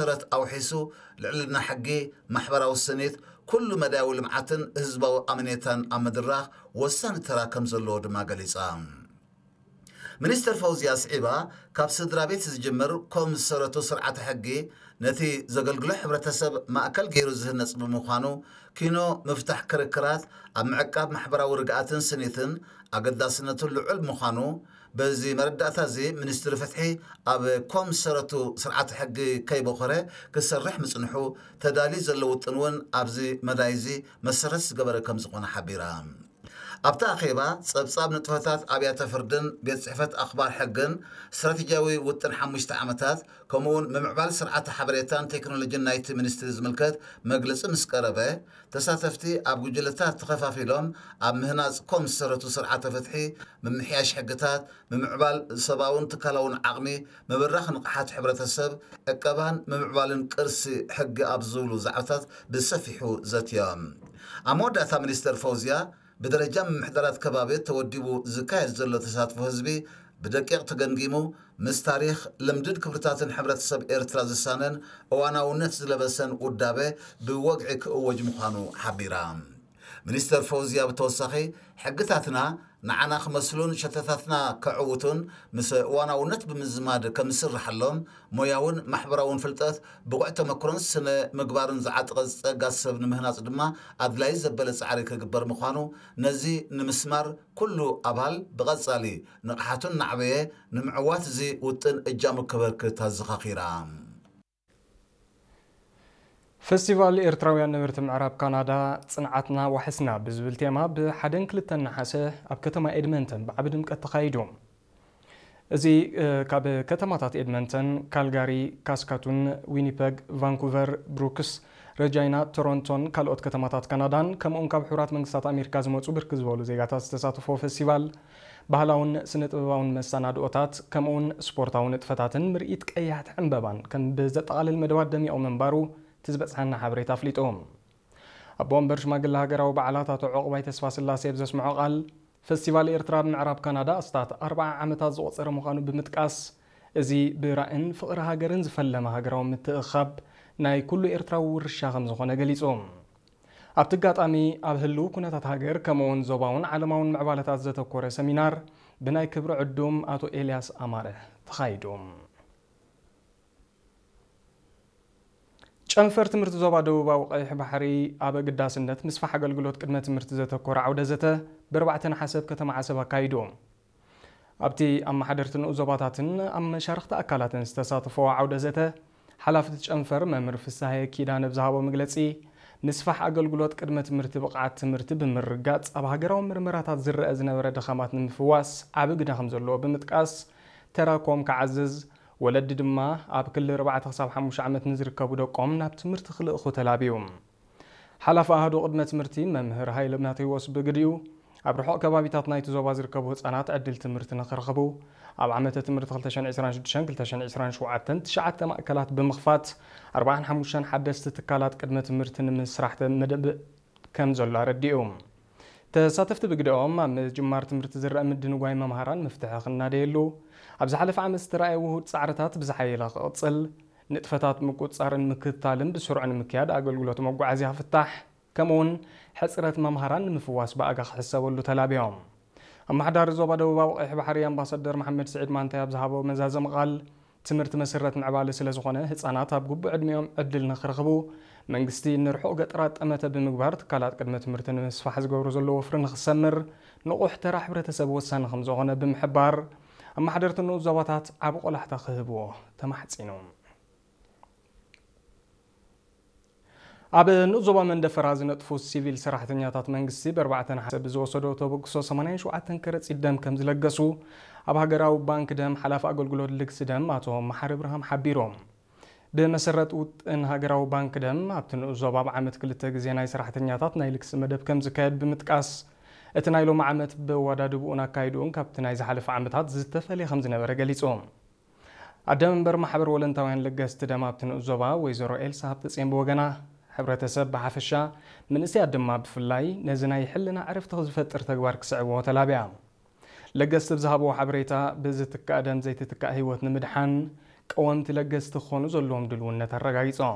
መሰረት ኣውሒሱ ልዕልና ሕጊ፣ ማሕበራዊ ስኒት፣ ኩሉ መዳያዊ ልምዓትን ህዝባዊ ኣመኔታን ኣብ ምድራኽ ወሳኒ ተራ ከም ዘለዎ ድማ ገሊጻ። ሚኒስተር ፈውዝያ ስዒባ፣ ካብ ስድራ ቤት ዝጅምር ኮም ዝሰረቱ ስርዓተ ሕጊ ነቲ ዘገልግሎ ሕብረተሰብ ማእከል ገይሩ ዝህነጽ ብምዃኑ፣ ኪኖ ምፍታሕ ክርክራት ኣብ ምዕቃብ ማሕበራዊ ርግኣትን ስኒትን ኣገዳስነቱ ልዑል ምዃኑ፣ በዚ መረዳእታ እዚ ሚኒስትሪ ፍትሒ ኣብ ኮም ዝሰረቱ ስርዓተ ሕጊ ከይበኾረ ክሰርሕ ምጽንሑ፣ ተዳልዩ ዘሎ ውጥን እውን ኣብዚ መዳይ እዚ መሰረት ዝገበረ ከም ዝኾነ ሓቢራ። ኣብቲ ኣኼባ፣ ጸብጻብ ንጥፈታት ኣብያተ ፍርድን ቤት ጽሕፈት ኣኽባር ሕግን ስትራቴጂያዊ ውጥን ሓሙሽተ ዓመታት፣ ከምኡውን ምምዕባል ስርዓተ ሓበሬታን ቴክኖሎጂን ናይቲ ሚኒስትሪ ዝምልከት መግለጺ ምስ ቀረበ፣ ተሳተፍቲ ኣብ ጉጅለታት ተኸፋፊሎም ኣብ ምህናጽ ኮም ዝሰረቱ ስርዓተ ፍትሒ፣ ምምሕያሽ ሕግታት፣ ምምዕባል ሰብኣውን ትካላውን ዓቕሚ፣ ምብራኽ ንቕሓት ሕብረተሰብ፣ ዕቀባን ምምዕባልን ቅርሲ ሕጊ ኣብ ዝብሉ ዛዕባታት ብሰፊሑ ዘትዮም። ኣብ መወዳእታ ሚኒስተር ፈውዝያ፣ ብደረጃ ምምሕዳራት ከባቢ ተወዲቡ ዝካየድ ዘሎ ተሳትፎ ህዝቢ ብደቂቕ ተገምጊሙ፣ ምስ ታሪኽ፣ ልምድን ክብርታትን ሕብረተሰብ ኤርትራ ዝሳነን እዋናውነት ዝለበሰን ውዳበ ብወግዒ ክእወጅ ምዃኑ ሓቢራ። ሚኒስተር ፈውዝያ ብተወሳኺ፣ ሕግታትና ንዓና ክመስሉን ሸተታትና ከዕውቱን ምስ እዋናውነት ብምዝማድ ከም ዝስርሓሎም፣ ሞያውን ማሕበራውን ፍልጠት፣ ብቑዕ ተመክሮን ስነ ምግባርን ዝዓጥቀ ጸጋ ሰብ ንምህናጽ ድማ ኣድላዪ ዘበለ ጻዕሪ ክግበር ምዃኑ፣ ነዚ ንምስማር ኩሉ ኣባል ብቐጻሊ ንቕሓቱ እናዕበየ ንምዕዋት እዚ ውጥን እጃሙ ከበርክት ኣዘኻኺራ። ፈስቲቫል ኤርትራውያን ነበርቲ ምዕራብ ካናዳ ጽንዓትና ዋሕስና ብዝብል ቴማ ብሓደን ክልተን ነሓሰ ኣብ ከተማ ኤድመንተን ብዓቢ ድምቀት ተኻይዱ። እዚ፣ እ፣ ካብ ከተማታት ኤድመንተን፣ ካልጋሪ፣ ካስካቱን፣ ዊኒፐግ፣ ቫንኩቨር፣ ብሩክስ፣ ረጃይና፣ ቶሮንቶን ካልኦት ከተማታት ካናዳን ከምኡውን ካብ ሕቡራት መንግስታት ኣሜሪካ ዝመጹ ብርክት ዝበሉ ዜጋታት ዝተሳተፎ ፈስቲቫል፣ ባህላውን ስነ ጥበባውን መሰናድኦታት ከምኡውን ስፖርታዊ ንጥፈታትን ምርኢት ቀያሕቲ ዕምበባን ከም ብዘጠቓልል መደባት ደሚቑ ምንባሩ እቲ ዝበጽሓና ሓበሬታ ኣፍሊጡ። ኣቦ ወንበር ሽማግለ ሃገራዊ በዓላት ኣቶ ዑቕባይ ተስፋስላሴ ኣብ ዘስምዖ ቃል፣ ፈስቲቫል ኤርትራ ኣብ ምዕራብ ካናዳ ኣስታት ኣርብዓ ዓመታት ዘቑጸረ ምዃኑ ብምጥቃስ፣ እዚ ብራእን ፍቕሪ ሃገርን ዝፈለመ ሃገራዊ ምትእኽኻብ ናይ ኩሉ ኤርትራዊ ውርሻ ከም ዝኾነ ገሊጹ። ኣብቲ ኣጋጣሚ፣ ኣብ ህልው ኩነታት ሃገር ከምኡውን ዞባውን ዓለማውን ምዕባለታት ዘተኮረ ሰሚናር ብናይ ክብሪ ዕዱም ኣቶ ኤልያስ ኣማረ ተኻይዱ። ጨንፈር ትምህርቲ ዞባ ደቡባዊ ቀይሕ ባሕሪ ኣብ ኣገዳስነት ምስፋሕ ኣገልግሎት ቅድመ ትምህርቲ ዘተኮረ ዓውደ ዘተ ብኣርባዕተ ነሓሰ ኣብ ከተማ ዓሰብ ኣካይዱ። ኣብቲ ኣመሓደርቲ ንኡስ ዞባታትን ኣብ መሻርኽቲ ኣካላትን ዝተሳተፎ ዓውደ ዘተ፣ ሓላፊ እቲ ጨንፈር መምህር ፍስሃየ ኪዳነ ብዝሃቦ መግለጺ፣ ምስፋሕ ኣገልግሎት ቅድመ ትምህርቲ ብቕዓት ትምህርቲ ብምርጋጽ ኣብ ሃገራዊ ምርመራታት ዝረአ ዝነበረ ድኻማት ንምፍዋስ ዓቢ ግደ ከም ዘለዎ ብምጥቃስ፣ ተራኮም ክዓዝዝ፣ ወለዲ ድማ ኣብ ክሊ ኣርባዕተ ክሳብ ሓሙሽተ ዓመት ንዝርከቡ ደቆም ናብ ትምህርቲ ክልእኹ ተላብዩ። ሓላፊ ኣሃዱ ቅድመ ትምህርቲ መምህር ሃይለ ማቴዎስ ብግዲኡ፣ ኣብ ርሑቕ ከባቢታት ናይቲ ዞባ ዝርከቡ ህጻናት ዕድል ትምህርቲ ንኽረኽቡ፣ ኣብ ዓመተ ትምህርቲ ክልተ ሽሕን ዕስራን ሽዱሽተን ክልተ ሽሕን ዕስራን ሸውዓተን ትሽዓተ ማእከላት ብምኽፋት፣ ኣርባዓን ሓሙሽተን ሓደስቲ ትካላት ቅድመ ትምህርቲ ንምስራሕ መደብ ከም ዘሎ ኣረዲኡ። ተሳተፍቲ ብግደኦም፣ ኣብ ምጅማር ትምህርቲ ዝረአ ምድንጓይ መምሃራን መፍትሒ ክናደየሉ፣ ኣብ ዝሓለፈ ዓመት ዝተራእየ ውሁድ ጻዕርታት ብዝሓየለ ክቕጽል፣ ንጥፈታት ምቁጽጻርን ምክትታልን ብስሩዕ ንምክያድ ኣገልግሎት መጓዓዝያ ክፍታሕ፣ ከምኡውን ሕጽረት መምሃራን ንምፍዋስ ብኣጋ ክሕሰበሉ ተላብዮም። ኣመሓዳሪ ዞባ ደቡባዊ ቀይሕ ባሕሪ ኣምባሳደር መሓመድ ስዒድ ማንታይ ኣብ ዝሃቦ መዛዘሚ ቃል፣ ትምህርቲ መሰረት ምዕባለ ስለ ዝኾነ፣ ህጻናት ኣብ ግቡእ ዕድሚኦም ዕድል ንኽረኽቡ፣ መንግስቲ ንርሑቕ ገጠራት ጠመተ ብምግባር ትካላት ቅድመ ትምህርቲ ንምስፋሕ ዝገብሮ ዘሎ ወፍሪ ንኽሰምር፣ ንቑሕ ተራ ሕብረተሰብ ወሳኒ ከም ዝኾነ ብምሕባር፣ ኣመሓደርቲ ንኡስ ዞባታት ዓቢ ቆላሕታ ክህብዎ ተማሕጺኑ። ኣብ ንኡስ ዞባ መንደፈራ ዝነጥፉ ሲቪል ሰራሕተኛታት መንግስቲ ብኣርባዕተ ነሓሰ ብዝወሰዶ ተበግሶ ሰማንያን ሸውዓተን ከረጺት ደም ከም ዝለገሱ ኣብ ሃገራዊ ባንክ ደም ሓላፊ ኣገልግሎት ልግሲ ደም ኣቶ መሓሪ ብርሃም ሓቢሮም። ብመሰረት ውጥን ሃገራዊ ባንክ ደም ኣብቲ ንኡስ ዞባ ኣብ ዓመት ክልተ ግዜ ናይ ሰራሕተኛታት ናይ ልግሲ መደብ ከም ዝካየድ ብምጥቃስ፣ እቲ ናይ ሎሚ ዓመት ብኣወዳድብኡን ኣካይድኡን ካብቲ ናይ ዝሓለፈ ዓመታት ዝተፈልየ ከም ዝነበረ ገሊጹ። ኣደ መንበር ማሕበር ወለንታውያን ለገስቲ ደም ኣብቲ ንኡስ ዞባ ወይዘሮ ኤልሳ ሃብተጽዮን ብወገና፣ ሕብረተሰብ ብሓፈሻ፣ መንእሰያት ድማ ብፍላይ ነዚ ናይ ሕልና ዕረፍቲ ዝፈጥር ተግባር ክስዕብዎ ተላብያ። ለገስቲ ብዝሃብዎ ሓበሬታ፣ ብዝትካእ ደም ዘይትትካእ ህይወት ንምድሓን፣ ቀወምቲ ለገስቲ ክኾኑ ዘለዎም ድልውነት ኣረጋጊጾም።